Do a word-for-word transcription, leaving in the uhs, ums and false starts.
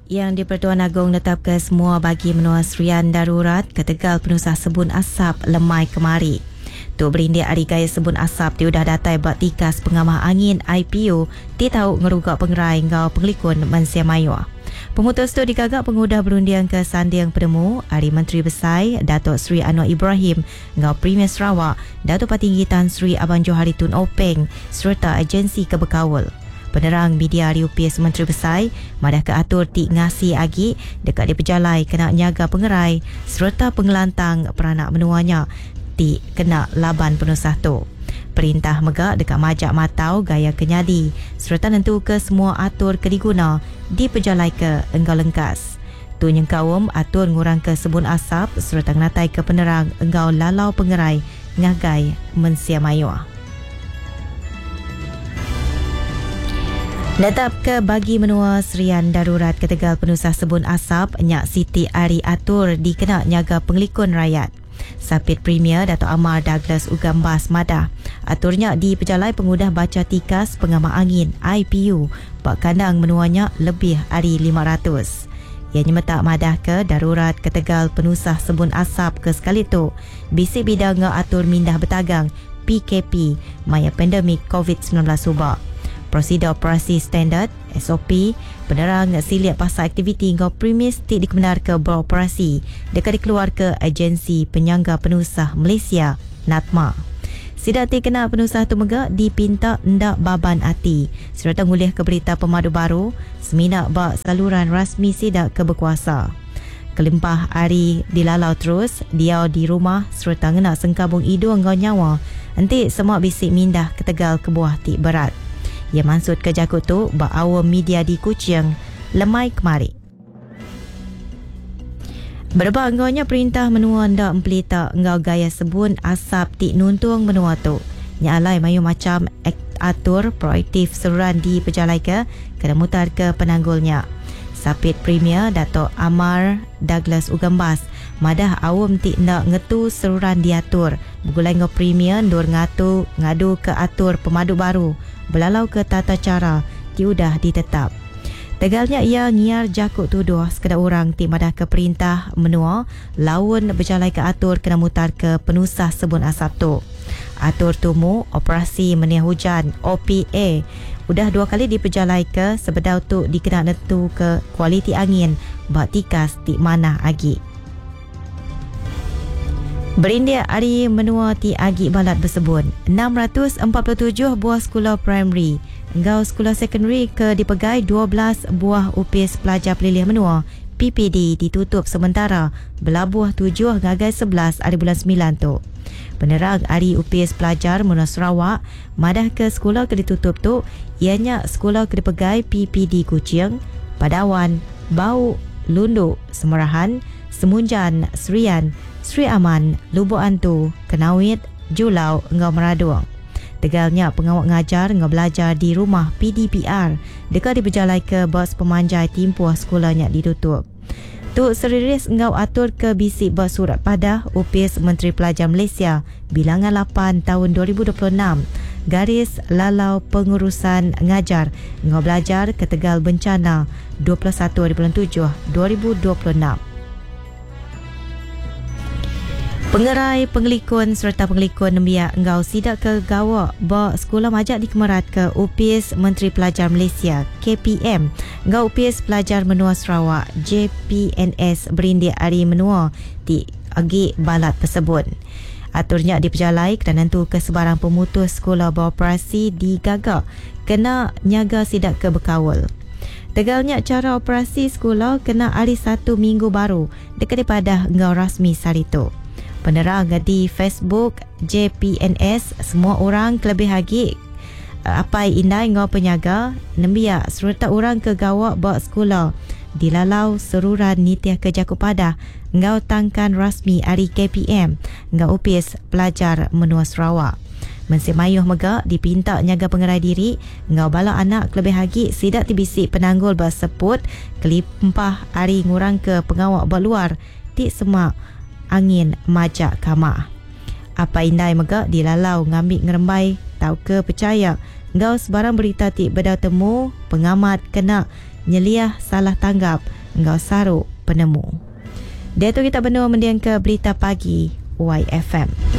Yang di-Pertuan Agong netap ke semua bagi menua Serian darurat ketegal penusah sebun asap lemai kemari. Tu berindik ari gaya sebun asap ti udah datai ba tikas pengamah angin I P U ti tau ngeruga pengerai enggau pengelikun mensia mayuh. Pemutus tu digagak pengudah berunding ke sanding penemu ari Menteri Besai Datuk Seri Anwar Ibrahim enggau Premier Sarawak Datuk Patinggi Tan Sri Abang Johari Tun Openg serta agensi kebekaul. Penerang media ari U P S Menteri Besai madah ke atur ti ngasi agi dekat dipejalai kena nyaga pengerai serta pengelantang peranak menuanya ti kena laban penusah tu. Perintah mega dekat majak matau gaya kenyadi serta nentu ke semua atur ke diguna dipejalai ke enggau lengkas. Tu nyengkaum atur ngurang ke sebun asap serta ngenatai ke penerang enggau lalau pengerai ngagai mensia mayuh. Netap ke bagi menua Serian darurat ketegal penusah sebun asap nyak Siti Ari atur dikena nyaga pengelikun rakyat. Sapit Premier Dato' Amar Douglas Ugambas madah aturnya di pejalai pengudah baca tikas pengamah angin I P U bak kandang menuanya lebih ari lima ratus. Ia nyemetak madah ke darurat ketegal penusah sebun asap ke sekali tu bisi bidang ngau atur mindah betagang P K P maya pandemik COVID sembilan belas subak. Prosedur operasi standard S O P penerang siliak pasal aktiviti ngau premis ti dikebenar ke beroperasi dekat dikeluar ke Agensi Penyangga Penusah Malaysia NATMA. Sidak ti kena penusah tu mega dipinta ndak baban ati serta ngulih ke berita pemadu baru semina ba saluran rasmi sidak ke berkuasa. Kelimpah ari dilalau terus diau di rumah serta ngena sengkabung hidung ngau nyawa enti semua bisi mindah ketegal kebuah ti berat. Ia maksud ke jakut tu ba awam media di Kuching lemai kemari. Berebak enggaunya perintah menua ndak empelita enggau gaya sebun asap ti nuntung menua tu. Nya alai mayu macam atur proaktif seruran di pejalai ke kena mutar ke penanggulnya. Sapit Premier Dato' Amar Douglas Ugambas madah awam ti ndak ngetu seruran diatur begulai ngau Premier ndur ngatu ngadu ke atur pemadu baru belalau ke tata cara ti udah ditetap. Tegalnya ia ngiar jakut tuduh sekeda orang ti madah ke perintah menua laun berjalai ke atur kena mutar ke penusah sebun asap tu. Atur tumu operasi meniah hujan O P A udah dua kali dipejalai ke sebedau tu dikena nentu ke kualiti angin ba tikas ti manah agi. Berindik ari menua ti agi balat bersebun, enam ratus empat puluh tujuh buah sekolah primary enggau sekolah secondary ke dipegai dua belas buah upis pelajar pelilih menua P P D ditutup sementara belabuh tujuh ngagai sebelas hari bulan sembilan tu. Penerang ari upis pelajar Menua Sarawak madah ke sekolah ke ditutup tu ianya sekolah ke dipegai P P D Kuching, Padawan, Bau, Lundu, Semerahan, Semunjan, Serian, Sri Aman, Lubuk Antu, Kenawit, Julau enggau Meradung. Tegalnya pengawak ngajar enggau belajar di rumah P D P R dekat diberjalai ke bos pemanjai timpuh sekolahnya ditutup. Tu seriris enggau atur ke bisi bos surat padah Upis Menteri Pelajar Malaysia bilangan lapan tahun dua ribu dua puluh enam garis lalau pengurusan ngajar enggau belajar ke Tegal bencana dua puluh satu hari bulan tujuh dua ribu dua puluh enam. Pengerai pengelikun serta pengelikun nembiak enggau sidak ke gawak ba sekolah majak dikemerat ke Upis Menteri Pelajar Malaysia K P M enggau Upis Pelajar Menua Sarawak J P N S berindik ari menua ti agi balat tersebut. Aturnya dipejalai kena nentu ke sebarang pemutus sekolah beroperasi digagak kena nyaga sidak ke berkawal. Tegalnya cara operasi sekolah kena hari satu minggu baru dekat daripada enggau rasmi saritu. Penerang di Facebook J P N S semua orang kelebih lagi apai indai ngau penyaga nembiak serta orang ke gawak ba sekolah dilalau seruran nitiah ke jaku padah ngau tangkan rasmi ari K P M ngau upis pelajar menua Sarawak. Mensi mayuh mega dipinta nyaga pengerai diri ngau bala anak kelebih lagi sidak tibisi penanggul ba seput kelimpah ari ngurang ke pengawak ba luar ti semak angin majak kamah. Apa indai mega dilalau ngambil ngerembai tau ke percaya ngau sebarang berita ti beda temu pengamat kena nyeliah salah tanggap enggau saru penemu. Diatu kita benung mendingka Berita Pagi Y F M.